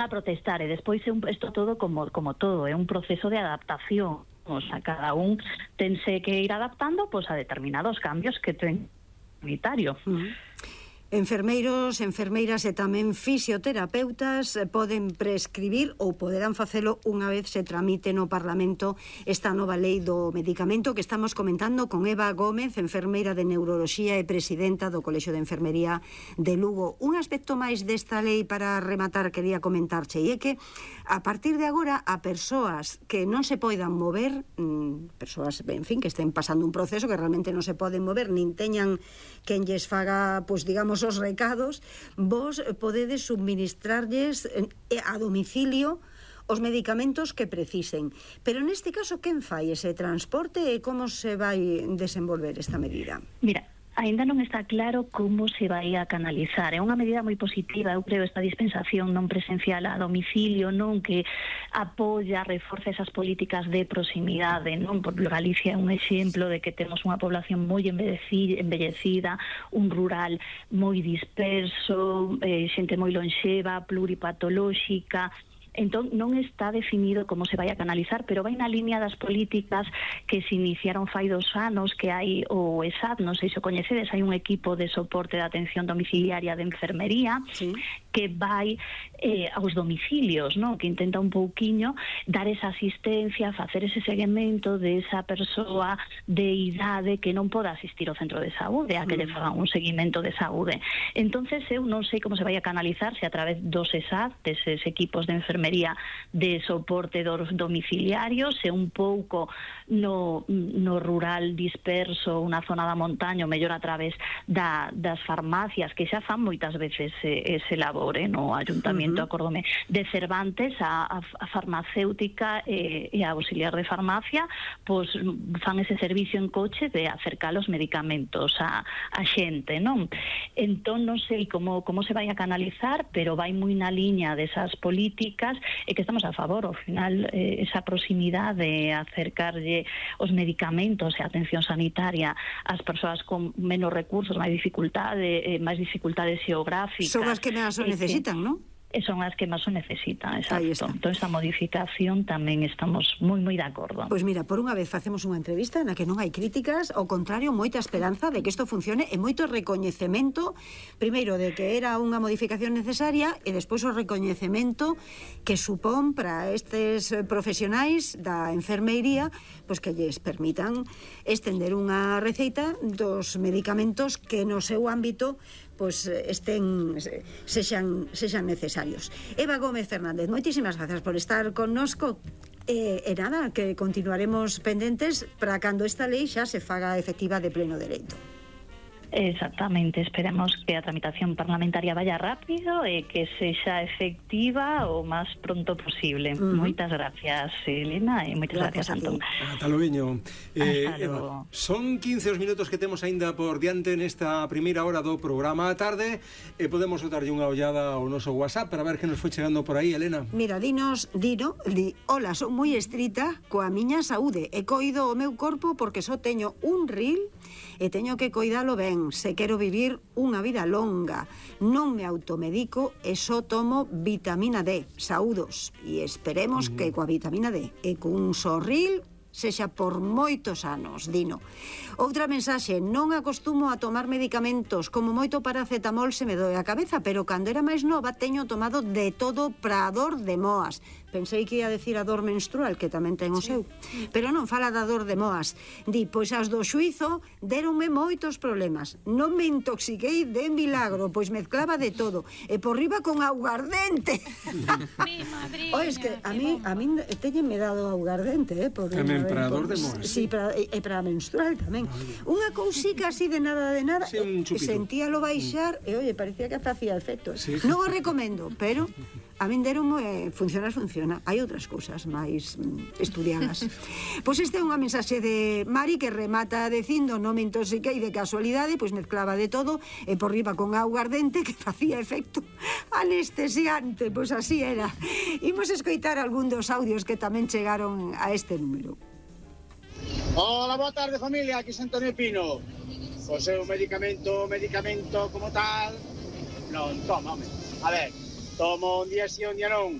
a protestar, e despois isto todo como todo, é un proceso de adaptación. O sea, cada un tense que ir adaptando a determinados cambios que ten sanitario. Enfermeiros, enfermeiras e tamén fisioterapeutas poden prescribir ou poderán facelo unha vez se tramite no Parlamento esta nova lei do medicamento que estamos comentando con Eva Gómez, enfermeira de neuroloxía e presidenta do Colexio de Enfermería de Lugo. Un aspecto máis desta lei para rematar quería comentarche, e é que a partir de agora a persoas que non se poidan mover, persoas, en fin, que estén pasando un proceso que realmente non se poden mover, nin teñan quen lles faga, pois digamos, os recados, vos podedes subministrarlles a domicilio os medicamentos que precisen. Pero neste caso, quen fai ese transporte e como se vai desenvolver esta medida? Mira, aínda non está claro como se vai a canalizar. É unha medida moi positiva, eu creo, esta dispensación non presencial a domicilio, non, que apoia, reforza esas políticas de proximidade, non? Por Galicia é un exemplo de que temos unha población moi envellecida, un rural moi disperso, xente moi lonxeva, pluripatolóxica. Entón, non está definido como se vai a canalizar, pero vai na línea das políticas que se iniciaron fai 2 anos, que hai o ESAD, non sei se o coñecedes, hai un equipo de soporte de atención domiciliaria de enfermería, sí, que vai aos domicilios, non? Que intenta un pouquiño dar esa asistencia, facer ese seguimento de esa persoa de idade que non poda asistir ao centro de saúde, a que lle fagan un seguimento de saúde. Entonces, eu non sei como se vai a canalizar, se a través dos ESAD, deses equipos de enfermería de soporte dos domiciliarios, e un pouco no rural disperso, unha zona da montaña, ou mellor a través das farmacias, que xa fan moitas veces ese labor, no Ayuntamento, acórdome, de Cervantes, a farmacéutica e a auxiliar de farmacia, pois fan ese servicio en coche de acercar os medicamentos a xente, non? Entón, non sei como se vai a canalizar, pero vai moi na liña desas políticas, e que estamos a favor. Ao final, esa proximidade de acercarlle os medicamentos e a atención sanitaria ás persoas con menos recursos, máis dificultades xeográficas. Son as que máis o necesitan, non? Son as que máis o necesitan, exacto. Entón, esta modificación tamén estamos moi de acordo. Pois mira, por unha vez facemos unha entrevista na que non hai críticas, ao contrario, moita esperanza de que isto funcione e moito recoñecemento, primeiro, de que era unha modificación necesaria, e despois o recoñecemento que supón para estes profesionais da enfermeiría, pois que lles permitan estender unha receita dos medicamentos que no seu ámbito pois sexan necesarios. Eva Gómez Fernández, moitísimas gracias por estar connosco. E nada, que continuaremos pendentes para cando esta lei xa se faga efectiva de pleno dereito. Exactamente, esperemos que a tramitación parlamentaria vaya rápido e que sexa efectiva o máis pronto posible. Moitas gracias, Elena, e moitas gracias, Antón. Ata logo. Eva, son 15 os minutos que temos aínda por diante nesta primeira hora do programa a tarde, e podemos botarlle unha ollada ao noso WhatsApp para ver que nos foi chegando por aí, Elena. Mira, di, hola, son moi estrita coa miña saúde, e coido o meu corpo porque só teño un ril e teño que coidalo ben. Se quero vivir unha vida longa, non me automedico e só tomo vitamina D. Saúdos, e esperemos que coa vitamina D e cun sorril sexa por moitos anos, Dino. Outra mensaxe: non acostumo a tomar medicamentos, como moito paracetamol se me doe a cabeza, pero cando era máis nova teño tomado de todo para a dor de moas. Pensei que ia decir a dor menstrual, que tamén ten o seu, pero non, fala da dor de moas. Di, pois as do xuizo deronme moitos problemas. Non me intoxiquei de milagro, pois mezclaba de todo, e por riba con augardente. Mi madriña. Es que a mí teñenme dado augardente, por tamén para a dor de moas. Sí, e para menstrual tamén. Unha cousica así de nada, sí, un chupito. Sentíalo baixar e, oye, parecía que facía efecto. Sí. Non o recomendo, pero a min deronme funciona. Hai outras cousas máis estudiadas. Pois esta é unha mensaxe de Mari que remata dicindo: non me intoxiquei de casualidade, pois mezclaba de todo e por riba con augardente que facía efecto anestesiante. Pois así era. Imos escoitar algún dos audios que tamén chegaron a este número. Hola, boa tarde, familia, aquí Antonio Pino. O seu medicamento como tal non toma, home. A ver, Tomo un día sí, un día non.